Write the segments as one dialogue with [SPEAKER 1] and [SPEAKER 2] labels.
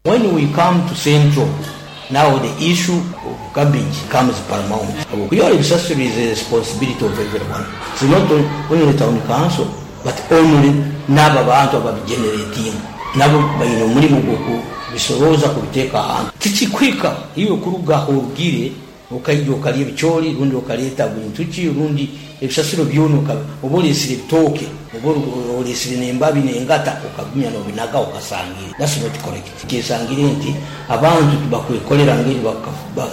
[SPEAKER 1] When we come to central now the issue of garbage comes paramount. Okuyora ebisasiro is a responsibility of everyone, it's not only town council but only n'abo abantu ababigeneratinga nabo baine omurimo gw'okubisorooza kubiteeka ahantu. Tikikuhika iwe kuruga ah'orugire Okaija okalya ebicoori rundi okaleeta bintu ki rundi ebisasiro byona oba oleesire ebitooke oba oleesire n'embabi n'engata okagumya n'obinaga okasangire. That's not correct. Kyesangire nti abantu tibakwekolera ngeri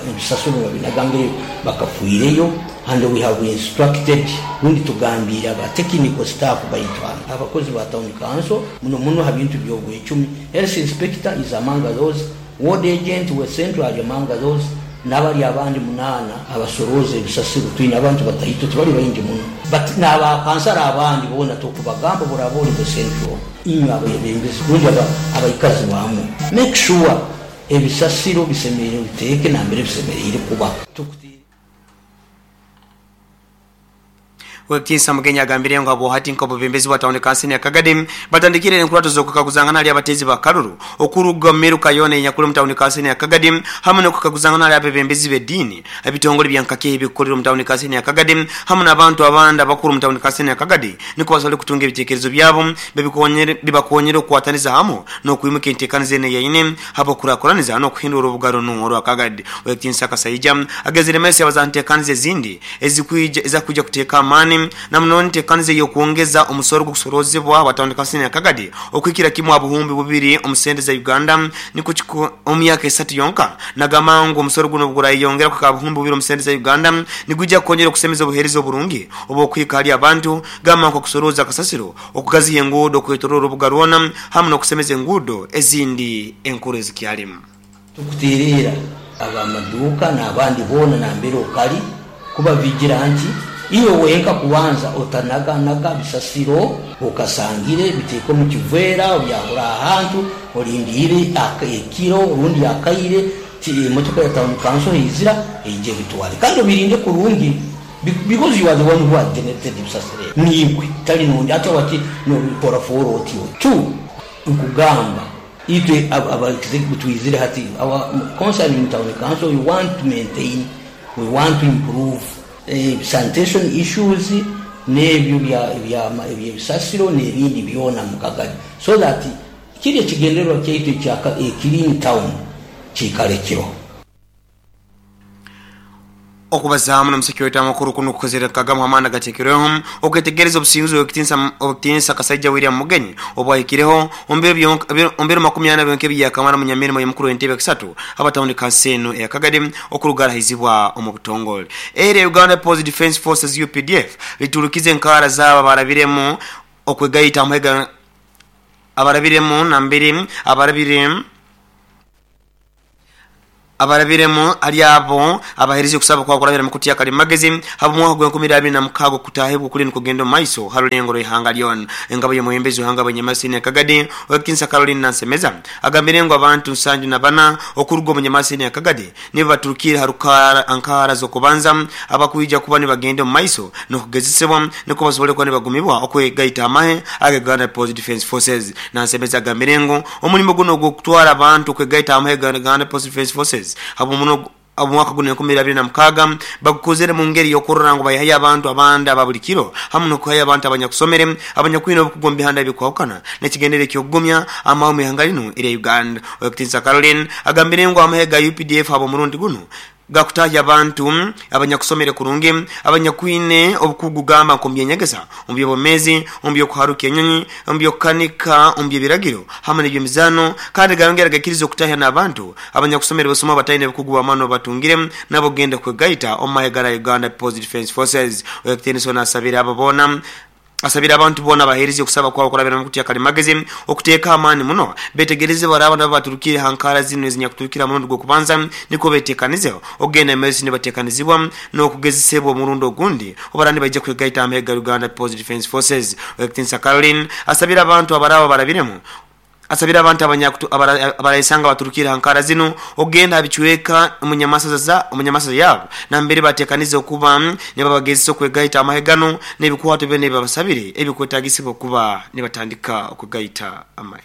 [SPEAKER 1] ebisasiro nibabinaga ngeri bakafiireyo and we have instructed rundi tugambiire aba technical staff baitu hanu abakozi ba town council muno muno ha bintu by'obwecumi, health inspector is among those, Ward agent we Central ali among those nabali abandi munaana abasorooza ebisasiro. Twine abantu bataito tibali baingi muno but naba kansara abandi boona tokubagamba bworaba oli we Central. Inywe abebembezi rundi abaikazi bamwo make sure ebisasiro bisemeriire obiteeke nambere bisemeriire kuba.
[SPEAKER 2] Ow'ekitiinisa Mugenyi agambire ngu habwohati nk'obwebembezi bwa tawuni kansini ya Kagadi batandikire enkurato z'okukaguzangana hali abateezi ba karuru okuruga omu miruka yoona eyenyakuli omu tawuni kansini ya Kagadi hamu n'okukaguzangana hali abebembezi b'ediini, ebitongole bya nkake ebikukolera omu tawuni kansini ya Kagadi hamu n'abantu abandi abakuru omu tawuni kansini ya Kagadi nikwo basobole kutunga ebitekerezo byabo bibakonyere okukwataniza hamu n'okwimuka entekaniza enu eyaine habw'okukurakuraniza n'okuhindura orubuga runu orwa Kagadi. Ow'ekitiinisa Kasaija agezire maiso yabaza ha ntekaniza ezindi ezikwija ezakwija kuteeka amaani na muno entekaniza ey'okwongeza omusoro gw'okusoroozebwa watandika siniya Kagadi okuhikira kimu ha 2000 omu sente za Uganda nikwo omu myaka esatu yonka. Nagamba ngu omusoro gunu obugurayeyongera kuhika ha 2000 omu sente za Uganda nigwija kukonyera okusemeza obuheereza oburungi obw'okuhika hali abantu gamba nk'okusorooza kasasiro, okugaziha enguudo okwetoroora orubuga rwona hamu n'okusemeza enguudo ezindi enkuru ezikyalimu.
[SPEAKER 1] Tukuteereera ab'amaduuka n'abandi boona nambere okali kubabigira nti, Iwe wenka kubanza otanaganaga bisasiro okasangire, biteeke omu kiveera obyahura ahantu, olindiire ekiro rundi akaire emotoka ya tawuni kanso heizira eije ebitwale. Kandi obirinde kurungi because you are the one who has generated ebisasiro ebi. Niiwe tali nondi. Hati wati nobikora foora otyo. Two, nkugamba Itwe aba executive twizire hati our concerning town council we want to maintain, we want to improve sanitation issues n'ebyo eby'ebisasiro n'ebindi byona mu Kagadi so that kiri ekigendererwa kyaitu ekya a clean town kiikale kiroho.
[SPEAKER 2] Okubazaamu n'omusiki waitu amakuru kunu kukozere nkagamu h'amaani agateekerweho okwetegereza obusinguzi bw'Owekitiinisa Kasaija William Mugenyi obwahikireho omu biro 40 byonka ebiyakamara omunyamirimo y'omukuru w'entebe ekisatu aba tawuni kanso enu eya Kagadi okuruga arahaizibwa omu butongole. Erya Uganda People's Defence Forces, updf, liturukize enkaara zaabo abarabiremu okwegaita abarabiremu nambere abarabire Abarabiremu hali abo abaheerize okusaba kwabo kurabira mu kutya kalimagezi habw'omwaka gw'enkumi ibiri abiri na mukaaga okutaahibwa okuli nikugenda omu maiso ha rulengo rw'ihanga lyona. Engabo y'omwebembezi w'ihanga Bwenyamasi Senior Kagadi, Ow'ekitinisa Caroline Nansemeza agambire ngu abantu 74 okuruga omu Nyamasi Senior Kagadi nibo baturukiire ha rukaara nkaara z'okubanza abakwija kuba nibagenda omu maiso n'okugezesebwa nikwo basobole kuba nibagumibwa okwegaita amahe aga Uganda People's Defence Forces. Nansemeza agambire ngu Omulimo gunu ogw'okutwara abantu kwegaita hamu ha Uganda People's Defence Forces habw'omwaka gunu 2026 bagukozere mu ngeri y'okurora ngu baihayo abantu abandi aba buli kiro hamu n'okuhayo abantu abanyakusomere abanyakwine obukugu omu bihanda ebikwahukana n'ekigendererwa eky'okugumya amahe omu ihanga linu erya Uganda. Owekitiinisa Caroline agambire ngu amahe ga updf habw'omurundi gunu Gakutaahya abantu abanyakusomere kurungi, abanyakwine obukugu gamba nk'omu by'enyegesa, omu by'obwomeezi, omu by'okuharuka enyonyi, omu by'okukanika, omu by'ebiragiro, hamu n'eby'emizaano. Kandi gayongera gaikiriza okutaahya n'abantu abanyakusomere busuma abataine bukugu bw'amaani obu batungire nabo kugenda kwegaita omu mahe gara Uganda People's Defence Forces. Owekitiinisa ono asabire abo boona Asabire abantu boona abaheereza okusaba kwabo kurabira mu kutya kalimagezi okuteeka amaani muno betegereze baraaba nabo baturukiire ha nkaara zinu ezinyakuturukire ha murundi gw'okubanza nikwo betekanize okugenda mu maiso nibatekanizibwa n'okugezesebwa omurundi ogundi obaraba nibaija kwegaita ha mahe ga Uganda People's Defence Forces. Owekitiinisa Caroline asabire abantu abaraaba barabiremu Asabire abantu abarayesanga baturukire ha nkaara zinu okugenda ha bicweka omu nyamasaza yaabo nambere batekanize okuba nibabagezesa okwegaita amahe ganu n'ebikwato byona ebibabasabire ebikwetagisibwa okuba nibatandika okwegaita amahe.